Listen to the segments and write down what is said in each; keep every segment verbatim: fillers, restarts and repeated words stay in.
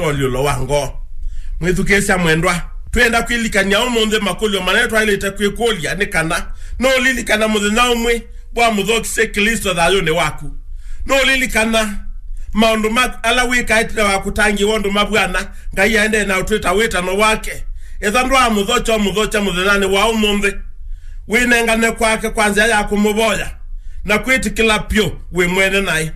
ũalyũlo wa ngoo. Mwĩthukĩĩsya mwendwa, twĩenda kwĩlikany'a ũmũnthĩ makũlyo manene twaĩlĩte kwĩkũlya nĩ kana, nũũlilikana mũthenya ũmwe wamũthokisye Klĩsto thayũnĩ waku? Nũũlilikana maũndũ ma ala wĩkaĩte wa kũtangĩĩwa ũndũ mavw'ana Ngai aendee na ũtwĩta wĩtano wake? Ethĩwa ndwaamũthokya, ũmũthokya mũthenyanĩ wa ũmũnthĩ. Wĩnengane kwake kwa nzĩa ya kũmũvoya na kwĩtĩkĩla pyũ wĩ mwene naĩ.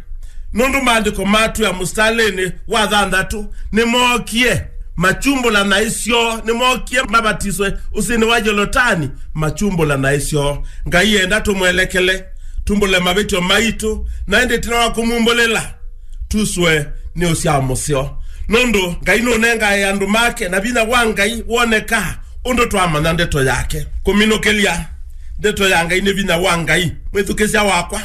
Nũndũ maandĩko matwĩa mũsitalĩnĩ wa thanthatũ, nĩmookie makyumbũla naĩ syoo, nĩmookie mavatiswe ũsĩnĩ wa Yolotani makyumbũla naĩ syoo. Ngai enda tũmwelekele, tumbũle mavĩtyo maitũ, na ĩndĩ ĩtina wa kũmumbũlĩla, tuswe nĩ ũsyao mũseo. Nũndũ Ngai nũnengae andũ make, na vinya wa Ngai wonekaa ũndũ twamanya ndeto yake. Kũminũkĩlya ndeto ya Ngai nĩ vinya wa Ngai. Mwĩthukĩsya wakwa,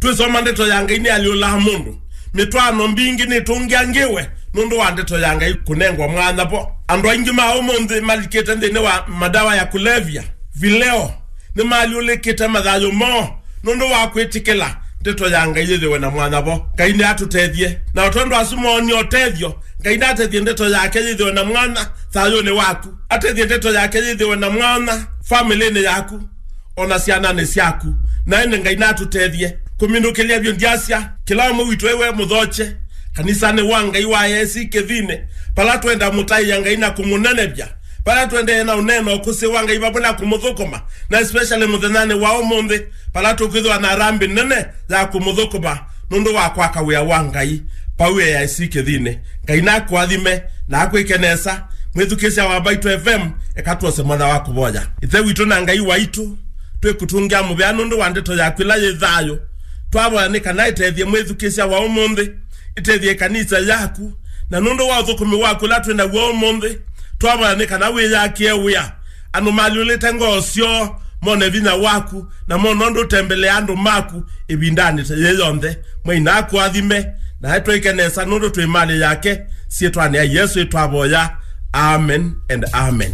twĩsoma ndeto ya Ngai nĩalyũlaa mũndũ. Mĩtwaano mbingĩ nĩtũngĩangĩwe nũndũ wa ndeto ya Ngai kũnengwa mwanya vo. Andũ aingĩ ma ũmũnthĩ malikĩte nthĩnĩ wa madawa ya kulevya, vileo, nĩmalyũlĩkĩte mathayũ moo nũndũ wa kwĩtĩkĩla ndeto ya Ngai yĩthĩwe na mwanya vo. Ngai nĩatũtethye. Na o tondũ asu moonie ũtethyo, Ngai natethye ndeto yake yĩthĩwe na mwanya thayũnĩ waku. Atethye ndeto yake yĩthĩwe na mwanya famĩlĩnĩ yaku, o na syananĩ syaku. Na ĩndĩ Ngai natũtethye. Kũminũkĩlya vyũ ndyasya, kĩla ũmwe witũ ewe mũthokye kanisanĩ wa Ngai wa A I C Kĩthinĩ, vala twenda mũtaĩa Ngai na kũmũnenevya, vala tũendee na ũneena ũkũsĩ wa Ngai vamwe na kũmũthũkũma, na especially mũthenyanĩ wa ũmũnthĩ, vala tũkwĩthĩwa na harambee nene ya kũmũthũkũma nũndũ wa kwaka wĩa wa Ngai vau A I C Kĩthinĩ. Ngai nakũathime na akwĩke nesa. Mwĩthukĩsya wa Mbaitũ F M, eka twose mwana wa kũvoya. Ĩthe witũ na Ngai waitũ, twĩkũtũngĩa mũvea nũndũ wa ndeto yaku ĩla yĩ thayũ. Twavoya nĩ kana ĩtethye mwĩthukĩsya wa ũmũnthĩ, ĩtethye ĩkanisa yaku, na nũndũ wa ũthũkũmi waku ũla twĩ naw'o ũmũnthĩ, twavoya nĩ kana wĩyakĩe wĩa. Andũ malyũlĩte ngoo syoo mone vinya waku, na mone ũndũ ũtembelea andũ maku ĩvindanĩ ta yĩĩ yonthe. Mwai nakũathime, na atwĩke nesa nũndũ twĩ malĩ yake. Syĩtwanĩ ya Yesũ ĩtwavoya. Amen and amen.